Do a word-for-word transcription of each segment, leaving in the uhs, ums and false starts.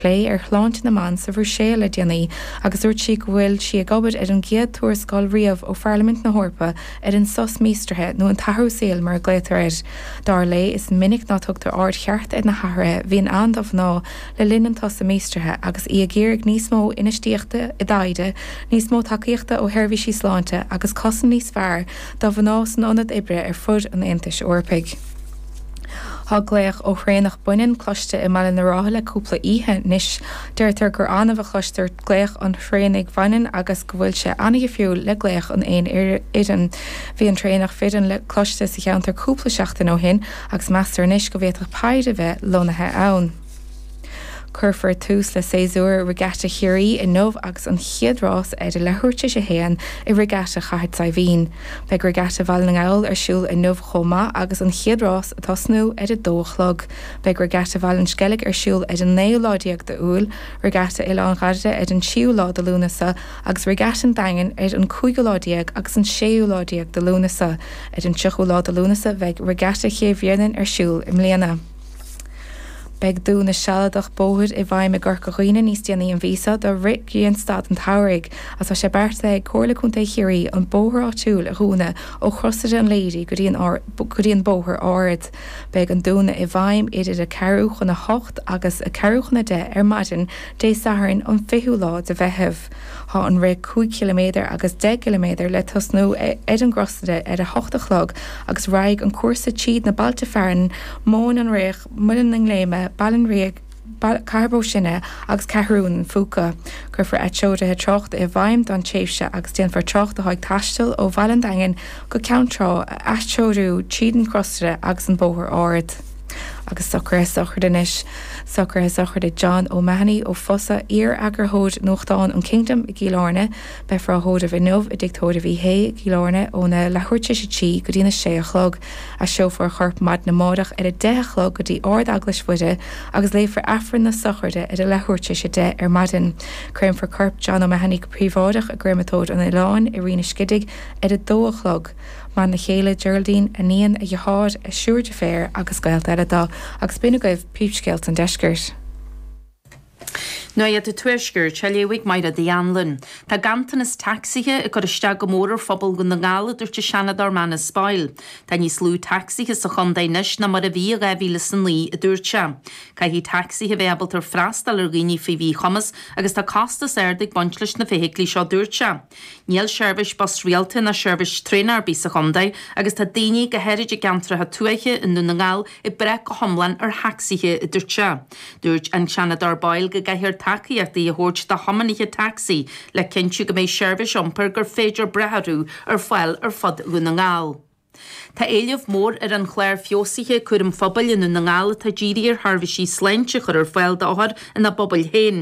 Plé ar shláinte na mban sa Bhruiséil le déanaí agus dúirt sí go bhfuil sí ag obair ar an gcéad tuarascáil riamh ó Pharlaimint na hEorpa ar an sos míostraithe nó an t-athrú saoil mar a ghlaotar air. Dar léi is minic nach dtugtar aird cheart ar na hathruithe a bhíonn ann do mhná le linn an tsosa míostraithe agus í ag iarraidh níos mó infheistíochta i dtaighde, níos mó tacaíochta ó sheirbhísí sláinte agus cosaint níos fearr do mhná san ionad oibre ar fud an Aontais Eorpaigh. Tá glaoch ó thraonach baineann cloiste i mBaile na Rátha le cúpla oíche anois. Deirtear gur annamh a chloistear glaoch an thraonaigh bhaineann agus go bhfuil sé an-dhifriúil le glaoch an éin fhirinn. Bhí an traonach fireann le cloiste sa cheantar cúpla seachtain ó shin agus meastar anois go bhféadfadh péire a bheith lonnaithe ann. Cuirfear tús le séasúr Regatta Chiarraí inniu agus an chéad rás ar a leathuair tar éis a haon i Regatta Chathair Saidhbhín. Beidh Regatta Bhaile na nGall ar siúl inniu chomh maith agus an chéad rás ag tosnú ar a dó a chlog. Beidh Regatta Bhaile an Sceilg ar siúl ar an naoú lá déag d'Iúil, Regatta Oileán Ghairide ar an tríú lá de Lúnasa agus Regatta an Daingin ar an cúigiú lá déag agus an séú lá déag de Lúnasa. Ar an tríochú lá de Lúnasa bheidh Regatta Chéibh Bhréanainn ar siúl i mbliana. Beidh dúnadh sealadach bóthair i bhfeidhm i gCorca Dhuibhne níos déanaí an mhí seo do rith Ghrianstad an tsamhraidh agus tá sé beartaithe ag Comhairle Contae Chiarraí an bóthar áitiúil a dhúnadh ó Chrosaire an Laoide go dtí an go dtí an Bóthar Ard. Beidh an dúnadh i bhfeidhm idir a ceathrú chun a hocht agus a ceathrú chun a deich ar maidin Dé Sathairn an fichiú lá de Mheitheamh. Tá an rith cúig chiliméadar agus deich gciliméadar le tosnú ar an gCrosaire ar a hocht a chlog agus raghaidh an cúrsa tríd na bailte fearainn, Móin an Fhraoich, Muileann na nGléime, Baile an Ríogh, Cathair Bó Sine agus Ceathrún an Phúca. Cuirfear atreoruithe tráchta i bhfeidhm don tréimhse agus déanfar trácht atá ag taisteal ó Bhaile an Daingin go Ceann Trá a atreorú tríd an gCrosaire agus an Bóthar Ard. Agus socruithe sochraide anois. Socruithe sochraide John O'Mahony ó Fosa, iar-eagarthóir nuachtáin an Kingdom i gCill Airne. Beifear á thórramh inniu i dTigh Tórraimh Uí Shé i gCill Airne óna leathuair tar éis a trí go dtína sé a chlog. Aistreofar a chorp maidin amárach ar a deich a chlog go dtí Ard-Eaglais Mhuire agus léifear Aifreann na sochraide ar a leathuair tar éis a deich ar maidin. Créamfar corp John O'Mahony go príobháideach i gcréamatóir an Oileáin i Rinn an Scidigh ar a dó a chlog. Bhean chéile Geraldine, a iníon, a dheartháir, a thriúr deirféar agus gaolta eile dó, agus b'in agaibh príomhscéalta an deiscirt. Nuacht an Tuaiscirt, á léamh ag Máire Uí Anluain. Tá ganntanas tacsaithe ag cur isteach go mór ar phobal Dhún na nGall, a dúirt an Seanadóir Manus Boyle. Tá níos lú tacsaithe sa chontae anois ná mar a bhí i dhá mhíle is a naoi, a dúirt sé. Caithfidh tacsaithe bheith ábalta freastal ar dhaoine faoi mhíchumas agus tá costas ard ag baint leis na feithiclí seo, dúirt sé. Níl seirbhís bus rialta ná seirbhís traenach ar bith sa chontae agus tá daoine, go háirid i gceantracha tuaithe i nDún na nGall, ag brath go hiomlán ar thacsaithe, a dúirt sé. Dúirt an Seanadóir Boyle go gcaithfear tacaíochtaí a thabhairt do thiománaithe tacsaí le cinntiú go mbeidh seirbhís iompair gur féidir brath orthu ar fáil ar fud Dhún na nGall. Tá éileamh mór ar an chlár feabhsaithe cúraim phobail i nDún na nGall atá dírithe ar sheirbhísí sláinte a chur ar fáil d'othair ina bpobail féin.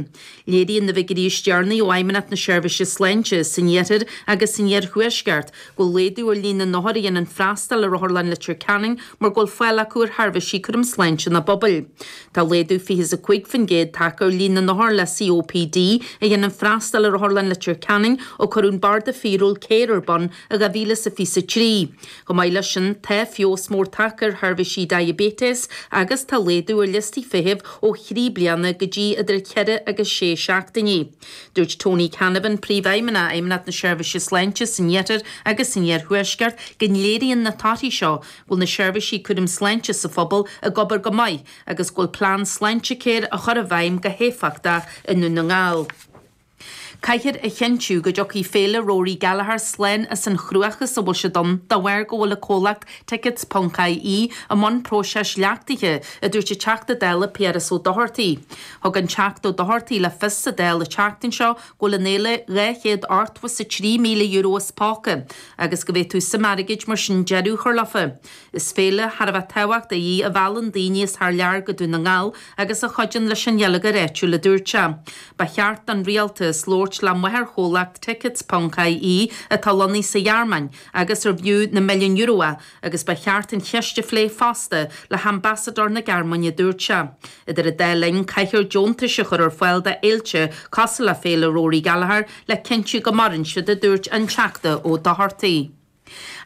Léiríonn na figiúirí is deireanaí ó Fheidhmeannacht na Seirbhíse Sláinte san Iarthar agus san Iarthuaisceart go bhfuil laghdú ar líon na n-othar a dhéanann freastal ar Otharlann Leitir Ceanainn mar go bhfuil fáil acu ar sheirbhísí cúraim sláinte ina bpobail. Tá laghdú fiche is a cúig faoin gcéad tagtha ar líon na n-othar le COPD a dhéanann freastal ar Otharlann Leitir Ceanainn ó cuireadh an Barda Fíorúil Care ar bun i dhá mhíle is a fiche a trí. Chomh maith leis sin, tá feabhas mór tagtha ar sheirbhísí diaibéitis agus tá laghdú ar liostaí feithimh ó thrí bliana go dtí idir cheithre agus sé seachtainí. Dúirt Tony Canavan, Príomhfheidhmeannach Fheidhmeannacht na Seirbhíse Sláinte san Iarthar agus san Iarthuaisceart, go léiríonn na torthaí seo go bhfuil na seirbhísí cúraim sláinte sa phobal ag obair go maith agus go bhfuil plean Sláintecare á chur i bhfeidhm go héifeachtach i nDún na nGall. Caithfear a chinntiú go dtiocfaidh Féile Rory Gallagher slán as an chruachás a bhfuil siad ann de bharr go bhfuil an comhlacht Tickets ponc IE i mbun próiseas leachtaithe, a dúirt an Teachta Dála Piaras Ó Dochartaigh. Thug an Teachta Ó Dochartaigh le fios sa Dáil an tseachtain seo go bhfuil an fhéile dhá chéad ochtó is a trí míle euro as póca agus go bhféadfadh suim airgid mar sin deireadh a chur leofa. Is féile thar a bheith tábhachtach í a mheallann daoine as thar lear go Dún na nGall agus a chuidíonn leis an gheilleagar áitiúil, a dúirt sé. Ba cheart don rialtas labhairt le máthairchomhlacht Tickets ponc IE atá lonnaithe sa Ghearmáin agus ar bhfiú na milliúin euro é agus ba cheart an cheist a phlé fosta le hambasadóir na Gearmáine, a dúirt sé. Idir an dá linn, caithfear deontais a chur ar fáil do fhéilte cosúil le Féile Rory Gallagher le cinntiú go maireann siad, a dúirt an Teachta Ó Dochartaigh.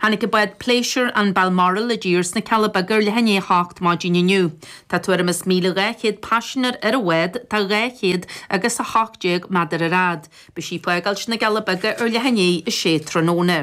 Tháinig an bád pléisiúir an Balmoral i dtír sna Cealla Beaga ar leath i ndiaidh a hocht maidin inniu. Tá tuairim is míle dhá chéad paisinéir ar an bhád, tá dhá chéad agus a hocht déag méadar ar fhad. Beidh sí ag fágáilt na gCealla Beaga ar leath i ndiaidh a sé tráthnóna.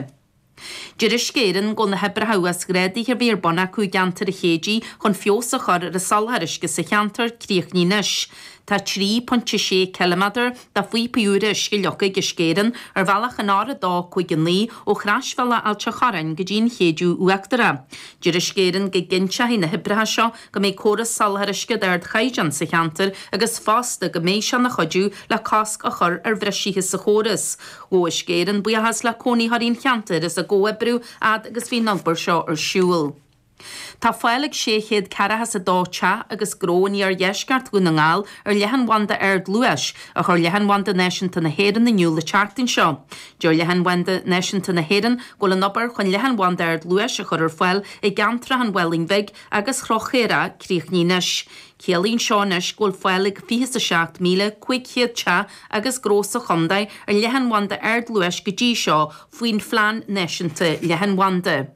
Deir Uisce Éireann go bhfuil na hoibreacha uasghrádaithe a bhí ar bun acu i gceantar an Chéidigh chun feabhas a chur ar an soláthar uisce sa cheantar críochnaithe anois. Tá trí pointe sé ciliméadar de phíopaí úra uisce leagtha ag Uisce Éireann ar bhealach an R a dó cúig a naoi ó chrasbhealach Ailt an Chorráin go dtí an Chéideadh Uachtarach. Deir Uisce Éireann go gcinnteoidh na hoibreacha seo go mbeidh córas soláthair uisce d'ardchaighdeán sa cheantar agus fosta go mbeidh sé ina chuidiú le cosc a chur ar bhriseacha sa chóras. Ghabh Uisce Éireann buíochas le cónaitheoirí an cheantair as a gcomhoibriú fhad agus bhí an obair seo ar siúl. Tá fáil ag sé chéad ceathracha is a dó teach agus gnó in iardheisceart Dhún na nGall ar leathanbhanda ardluais a chuir Leathanbhanda Náisiúnta na hÉireann in iúl an tseachtain seo. Deir Leathanbhanda Náisiúnta na hÉireann go bhfuil an obair chun leathanbhanda ardluais a chur ar fáil i gceantracha an Mhaoilín Bhig agus Chnoc Chaorach críochnaithe anois. Ciallaíonn seo anois go bhfuil fáil ag fiche is a seacht míle cúig chéad teach agus gnó sa chontae ar leathanbhanda ardluais go dtí seo faoin Phlean Náisiúnta Leathanbhanda.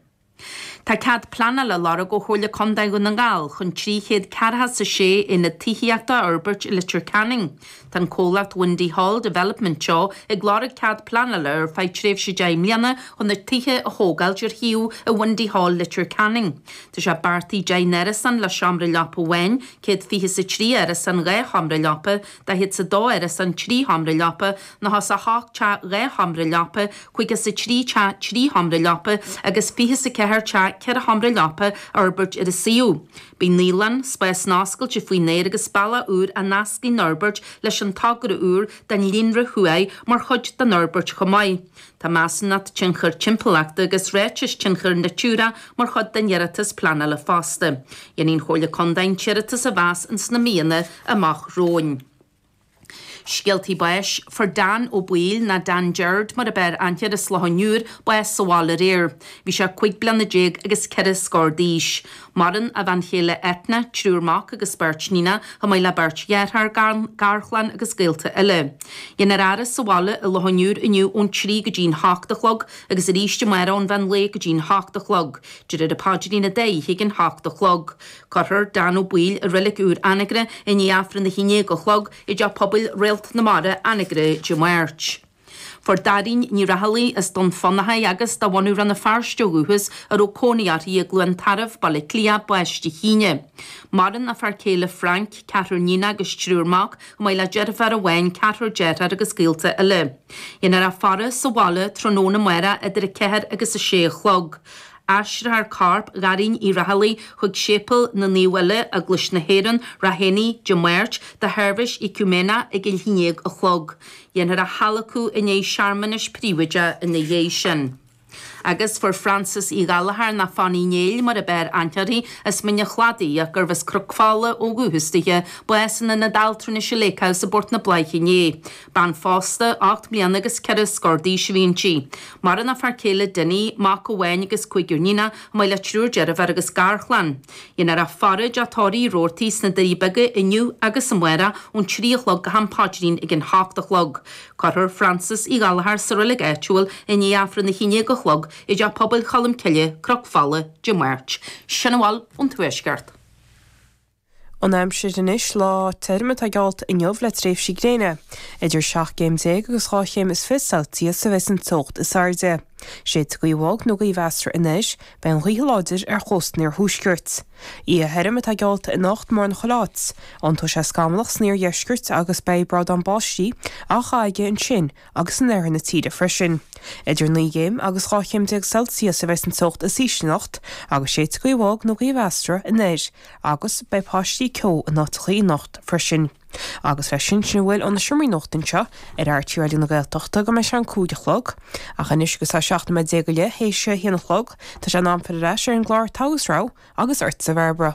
Tá cead pleanála á lorg ó Chomhairle Contae Dhún na nGall chun trí chéad ceathracha is a sé aonad tithíochta a fhorbairt i Leitir Ceanainn. Tá an comhlacht Windy Hall Development Teo ag lorg cead pleanála ar feadh tréimhse deich mbliana chun na tithe a thógáilt ar shuíomh i Windy Hall, Leitir Ceanainn. Tá sé beartaithe deich n-árasán le seomra leapa amháin, céad fiche is a trí árasán dhá sheomra leapa, daichead is a dó árasán trí sheomra leapa, nócha is a hocht teach dhá sheomra leapa, caoga is a trí teach trí sheomra leapa agus fiche is a ceathair teach ceithre sheomra leapa a fhorbairt ar an suíomh. Beidh naíolann, spásanna oscailte faoin aer agus bealach úr a nascfaidh an fhorbairt leis an togra úr don líonra thuaidh mar chuid den fhorbairt chomh maith. Tá measúnacht tionchair timpeallachta agus ráiteas tionchair Natura mar chuid den iarratas pleanála fosta. Déanfaidh an Chomhairle Contae an t-iarratas a mheas ins na míonna amach romhainn. Scéaltaí báis, Fuair Dan Ó Baoill, nó Dan Gerard mar ab fhearr aithne air as Loch an Iúir, bás sa bhaile aréir. Bhí sé cúig bliana déag agus ceithre scór d'aois. Maireann a bhean chéile Etna, triúr mac agus beirt níonach, chomh maith le beirt dheartháir, garchlann agus gaolta eile. Déanfar a fhaire sa bhaile i Loch an Iúir inniu ón trí go dtí'n hocht a chlog agus arís amárach ón mheán lae go dtí'n hocht a chlog. Déarfar an paidrín an dá oíche ag an hocht a chlog. Cuirfear Dan Ó Baoill i reilig úr Anagaire i ndiaidh Aifreann a haon déag a chlog i dTeach Pobail Réalt na Mara, Anagaire, Dé Máirt. Fuair Dairín Ní Raghallaigh as Dún Fionnachaidh agus de bhunadh Rann na Feirste ó dhúchas a raibh cónaí uirthi i gCluain Tarbh, Baile Átha Cliath, bás Dé hAoine. Maireann a fear céile Frank, ceathrar níonach agus triúr mac, chomh maith le deirfiúr amháin, ceathrar dearthár agus gaolta eile. Déanfar a faire sa bhaile tráthnóna amárach idir a ceathair agus a sé a chlog. Aistreofar corp Dhairín Uí Raghallaigh chuig Séipéal na Naomh Uile, Eaglais na hÉireann, Ráth Éanaigh, Dé Máirt, do sheirbhís éacúiméineach ag a haon déag a chlog. Déanfar a hadhlacadh i ndiaidh searmanais príobháideach ina dhiaidh sin. Agus fuair Frances Uí Ghallchóir, nó Fanny Néill mar ab fhearr aithne uirthi, as Mín an Chladaigh ach gurbh as Cnoc Fola ó dhúchas dithe, bás in Ionad Altranais Lake House i bPort na Bláiche inné. Bean phósta, ocht mbliana agus ceithre scór d'aois a bhí inti. Maireann a fear céile Dinny, mac amháin agus cúigear níonach, chomh maith le triúr deirfiúr agus garchlann. Déanfar a faire i dTeach Tórraimh Uí Robhartaigh sna Doirí Beaga inniu agus amárach ón trí a chlog go ham paidrín ag an hocht a chlog. Cuirfear Frances Uí Ghallchóir sa reilig áitiúil i ndiaidh Aifreann a haon déag a chlog i dTeach Pobail Cholm Cille, Cnoc Fola, Dé Máirt. Sin a bhfuil ón Tuaisceart. An aimsir anois lá tirim atá geallta inniu le tréimhsí gréine. Idir seacht gcéim déag agus dhá chéim is fiche Celsius a bheas an teocht is airde. Séidfidh gaoth bhog nó gaoth mheasartha anoir, beidh an ghaoth láidir ar chósta an iarthuaiscirt. Oíche thirim atá geallta anocht mórán chuile áit. Tiontóidh sé scamallach san iardheisceart agus beidh brádán báistí á chaitheamh aige ansin agus in oirthear na tíre freisin. Idir naoi gcéim agus dhá chéim déag Celsius a bheas an teocht is ísle anocht agus séidfidh gaoth bhog nó gaoth mheasartha anoir agus beidh paistí ceo in áiteachaí anocht freisin. Agus leis sin sin a bhfuil ó na seomraí nuachta anseo ar RTÉ Raidió na Gaeltachta go mbeidh sé an cúig a chlog. Ach anois agus tá seacht nóiméad déag go leith théis a haon a chlog, tá sé in am filleadh ar ais ar an gclár Togha is Rogha agus ortsa a Bhairbre.